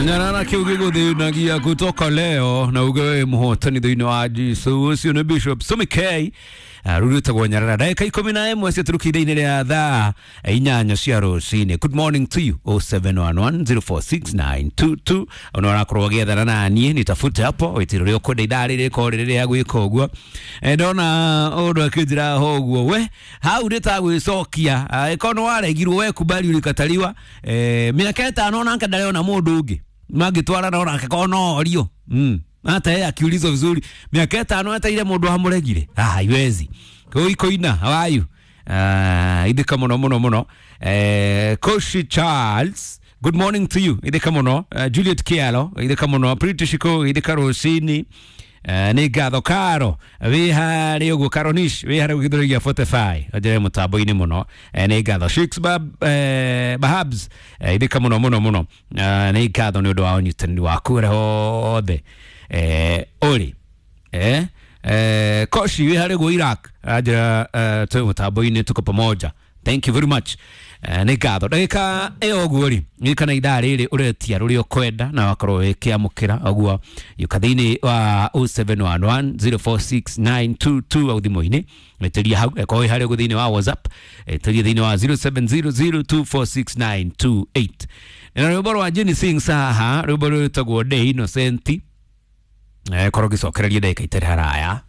Nyarara kiu giguthinagia kutoka leo na uge we muhotani thiini wa Jesu. Ucio ni Bishop Sumi K rurutagwo Nyarara. Ndagika 11 ciaturukire inĩ rĩa thaa 8 cia rũcinĩ. Good morning to you. 0711046922 ona ũrakorwo ũgĩethana na niĩ nitafute hapo wĩtĩro rĩa ũkwenda ithaa rĩrĩ rĩkorwo rĩrĩ rĩa gwĩka ũguo. Ndona ũndũ akĩnjĩra ho ũguo we hau nĩ ta gwĩcokia ĩkorwo nĩ waregirwo we kubali ulikataliwa. Mĩaka 5 onake ndarĩ mũndũ ũngĩ mangĩtwarana onake korwo no orio hata yeye akiulizwa vizuri miaka 5 eteire mundu amuregire, haiwezi koina. How are you? Ithika muno muno muno. Koshi Charles, good morning to you. Ithika muno. Juliet Kialo, ithika muno. Pretty Shiko, ithika rucini. Nĩ ngatho karo wĩ harĩ ũguo karonish wĩ harĩ gĩthũri gĩa 45 anjĩre mũtambo-inĩ mũno. Nĩ ngatho Shakes Bahabs, ithika mũno mũno mũno. Nĩ ngatho nĩ ũndũ wa ũnyitanĩri waku ũrĩa hothe ũrĩ. Koshi wĩ harĩ guo Iraq anjĩra twĩ mũtambo-inĩ tuko pamoja, thank you very much. Nĩ ngatho ndagĩka ĩyo ũguo rĩ ririkana ithaa rĩrĩ ũretia rũrĩa ũkwenda na wakorwo wĩkĩamũkĩra ũguo yũka thĩinĩ wa 0711046922 au thimũ-inĩ ĩtĩria hau ĩkorwo ĩ harĩa ũguo thĩinĩ wa WhatsApp ĩtĩria thĩinĩ wa 0700246928 na rwĩmbo rwa Jenny Sings haha rwĩmbo rwĩtagwo Day Innocent. Korwo ngĩcokereria ndagĩka itarĩ haraya.